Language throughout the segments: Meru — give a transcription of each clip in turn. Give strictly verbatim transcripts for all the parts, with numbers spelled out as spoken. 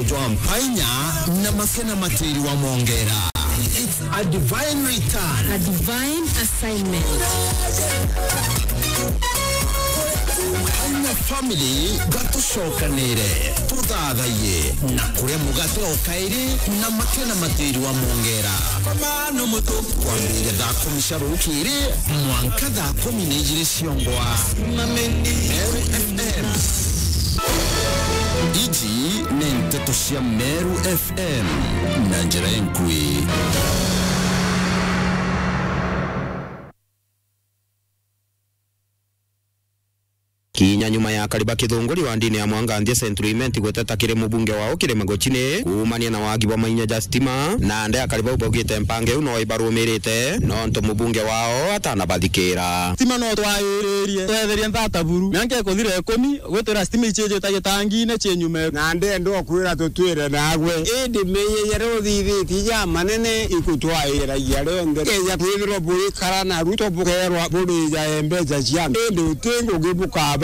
Jwa mpainya na makena matiri wa mongera. It's a divine return. A divine assignment. Mpainya family, gatucokanire, tuthathaiye na kuria mugate o kairi na makena matiri wa mongera. Kwambiriria thaa kumi cia rukiri mwanka thaa kumi na ijiri ciongwa. Meru F M. Iji ni nteto cia Meru F M na njira inkui. Kinya nyuma ya akari ba kithunguri wa ndini ya Mwanganthia Central Imenti guteta kiri mubunge wao Kirima Gochini kuumania na wagi bwa mainya ja stima, na ande akari bau baugite mpango iu no ibarumirite nontu mubunge wao atanabathikira. Stima no twairirie, twetherie nthata buru. Mianka ikuthira ikumi, gwitira stima icijite gitangine cinyume. Na ndenda ukwira tutwire nagwe. Indi meyeyere uthithitie ja manene ikutwairagia rionthe. Keja kwithirwa buri kara na ruto bukerwa burija mbeca cia antu. Indi uti ngugi bukabaritira.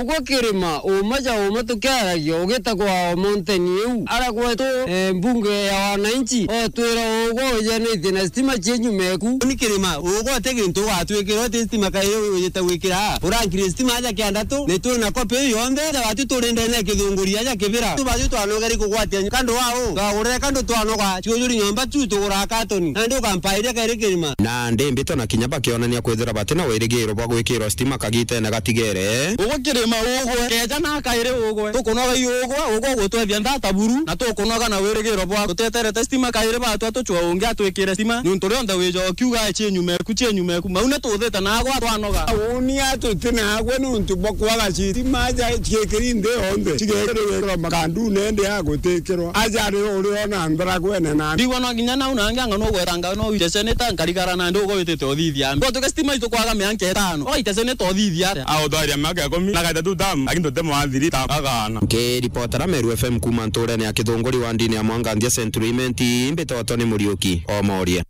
Ugwe Kirima, uma ja uma tukiaragia, ugitagwa o mountain iu. Ara gwetu, eh, mbunge ya wananchi, otwira ugwe ujanitie na stima cie nyuma eku. Ni Kirima, ugwe uti gintu ugatwikira, uti stima kairi ujite gwikira. Urankire stima aja kiandatu, ni twina kopi iu yonthe, ja watu turi ndene ya kithunguri aja kibira. Tu batu twanogeri kugwatia kandu wao, twagurire kandu twanoga, ciujuri nyomba tu tugura katoni. Na ndi ukampairia kairi Kirima. Na ndi mbito na kinya bakionania kwithira batina wirigiro bwa gwikirwa stima kagitene gatigere. Ugwe Kirima ugwe, keja na kairi ugwe. Tukunoga i ugwe, ugwe ugutwethia nthata buru, na tukunoga na wirigiro bwa tuteterete stima kairi batwa tucwa ungi atwikire stima. Niuntu rionthe wija ukiuga, "Cie nyuma eku, cie nyuma eku." Mau ni tuthite nagwa twanoga. Uuni atuti nagwe niuntu bwa kwaga stima ja ciikiri nthi yonthe. Cigekirwe makandu nende ya gutikirwa. Aja ri uri ona nthara gwene na. Ndigwa no nginya nau nangi anga no gwetanga no witese ni ta nkarigara na ndi ugwitite uthithia. Gwa tuke stima itu kwaga mianka itano. Oitese ni to thithia. Autwaria miaka ikumi, na gaita tu tam, lakini tutemo athiri ta agana. Nkiripotera Meru F M kuuma nturene ya Kithunguri wa ndini ya Mwanganthia Central Imenti, mbitotwa ni Muriuki Omoria.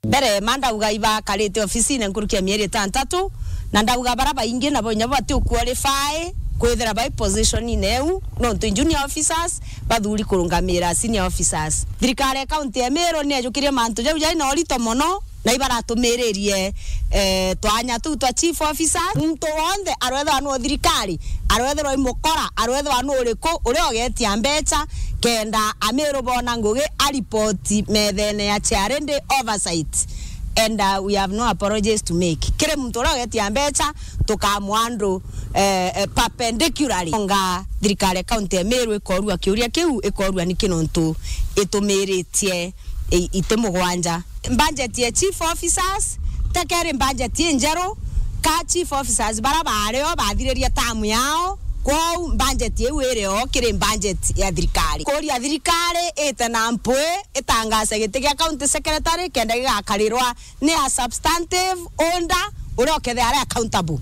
Mbere, ma ndauga ibakarite ofisine nkuruki ya mieri itantatu, na ndauga bara baingi nabo inya bati uqualify kwithira bai position-ine iu, nontu junior officers bathuri kurungamira senior officers. Thirikari ya kaunti ya Meru ni yajukirie mantu jau jai na urito mono, na ibaratumiririe, eh, twanya tuu twa chief officers. Muntu wonthe arwethirwa nu thirikari, arwethirwa i mukora, arwethirwa nu uriku, uria ugetia mbecha, kenda Ameru bona ngugi aripoti methene ya charity oversight. And, uh, we have no apologies to make. Kiri muntu uria ugetia mbecha, tukamwa andu, eh, eh, perpendicularly. Nga thirikari ya kaunti ya Meru ikorua kiuria kiu, ikorua niki nontu itumiritie i-, iti mugwanja. Budget ya chief officers, tekeri budget injeru, ka chief officers bara bario bathiririe term yao, kwou budget iu iri o kiri budget ya thirikari. Kuria thirikari ite na mpwi itangaze giti gia county secretary kenda gigakarirwa ni a substantive holder uria ukethira ari accountable.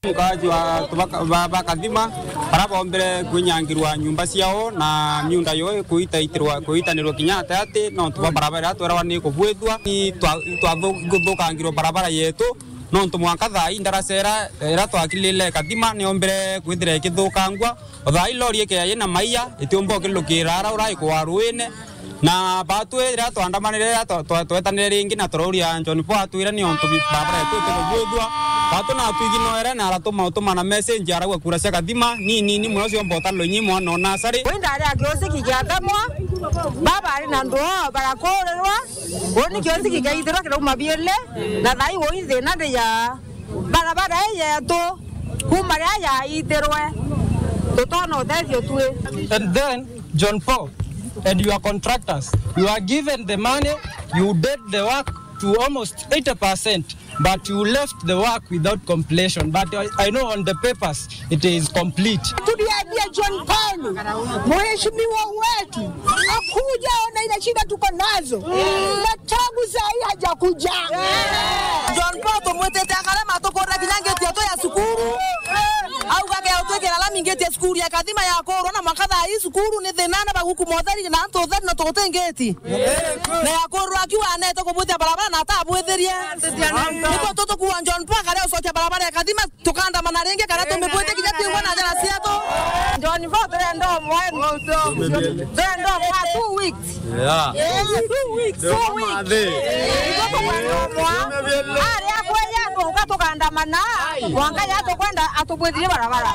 Mukaji wa tubaka-, ba-, ba Kathima, bara bombire kwinyangirwa nyumba ciao na miunda yo kuitaitirwa, kuitanirwa kinya ati ati, nontu bwa barabara iria twerawa ni kubwithua, ni twa-, twathukangirwa barabara yetu, nontu mwanka thaa ii ndaraca iria twakilile Kathima niombire kwithira ikithukangwa. O thaa ii lori ikeya yina maia, itiumba ukilukira ara ura ikwa ruine. Na batwi riria twandamanire, riria twa-, twa-, twetanire ringi na turauria John Paul atwire ni ontu bi-, barabara yetu itikubwithua. Batu natwiginoere na aratuma utuma na message arauga kura cia Kathima ni nini muno ciomba utalwa inyi mwana o nasari. Wi ndari a kiusi kigiatemwa, baba ari na ndwoo barakurirwa, uni kiusi kigiaithirwa kirauma biele, na thaa ii ui thina ndi ya barabara ii yetu, kuma riria yaitirwe, tutona utethio tui. And then, John Paul and your contractors, you are given the money, you did the work to almost eighty percent, but you left the work without completion. But I, I know on the papers, it is complete. Tuliambia John Paul, mheshimiwa wetu, akuja ona ile shida tuko nazo. Na tangu saa hii hajakuja. John Paul tumwitite akarema tukurira kinya ngiti yetu ya cukuru. Auga ke utwikira lami Ingitie cukuru ya Kathima yakurwa na mwanka thaa ii cukuru ni thina na baguku motheri na antu utheri na tuguti ngiti. Na yakurwa akiuga anete kubwithia barabara na atabwithirie. Niko tutukuwa John Paul akaria ucokia barabara ya Kathima tukandamana ringi kana tumibwithie kinya tingwa na njara cietu. John Paul turenda umwe. Turenda umwe two weeks. Yeah. Yes, two weeks. Two weeks. Ndio tukwenda umwe. Aria kweya tuka tukandamana. Mwanka ya tukwenda atubwithirie barabara.